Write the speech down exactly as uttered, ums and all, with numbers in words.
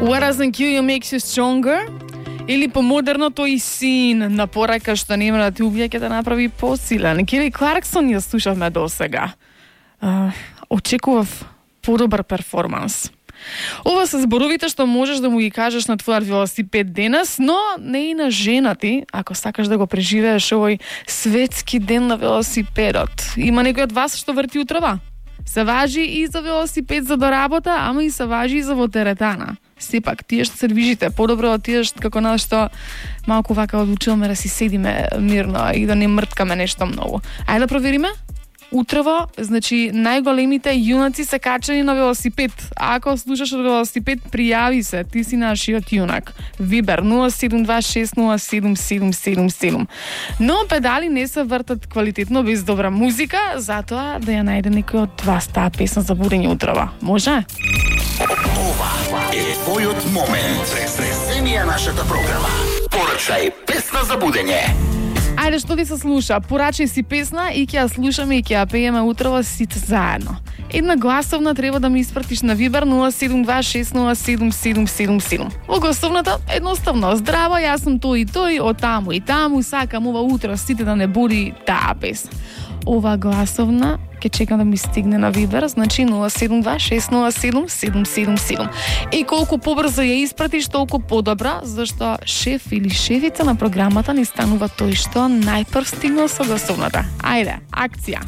What doesn't kill you makes you stronger? Или помодерно тој син на порака што нема да ти убие ќе да направи посилен. Кели Кларксон ја слушавме досега. Uh, очекував подобар перформанс. Ова се зборовите што можеш да му ги кажеш на твојот велосипед денес, но не и на жена ти, ако сакаш да го преживееш овој светски ден на велосипедот. Има некој од вас што врти утрава? Се важи и за велосипед за до работа, ама и се важи и за во теретана. Сепак, тие што се движите, подобро да отидеш како на што малку вака одлучуваме да си седиме мирно и да не мрткаме нешто многу. Ајде да провериме? Утрово, значи, најголемите јунаци се качени на велосипед. А ако слушаш од велосипед, пријави се, ти си нашиот јунак. Вибер нула седум два шест нула седум седум седум седум. Но педали не се вртат квалитетно без добра музика, затоа да ја најде некој од вас таа песна за будење утрово. Може? Ова е твојот момент. Престресени е нашата програма. Порачај песна за будење. Ајде, што ви се слуша? Порачај си песна и ќе ја слушаме и ќе ја пееме утрово сите заедно. Една гласовна треба да ми испратиш на Вибер нула седум два шест нула седум седум седум седум. Во гласовната едноставно: здраво, јас сум тој и тој, од таму и таму, сакам ова утро сите да не буди таа песна. Ова гласовна ќе чекам да ми стигне на Вибер, значи нула седум два шест нула седум седум седум седум. И колку побрзо ја испратиш, толку подобра, зашто шеф или шефица на програмата ни станува тој што најпрв стигнал со гласовната. Ајде, акција!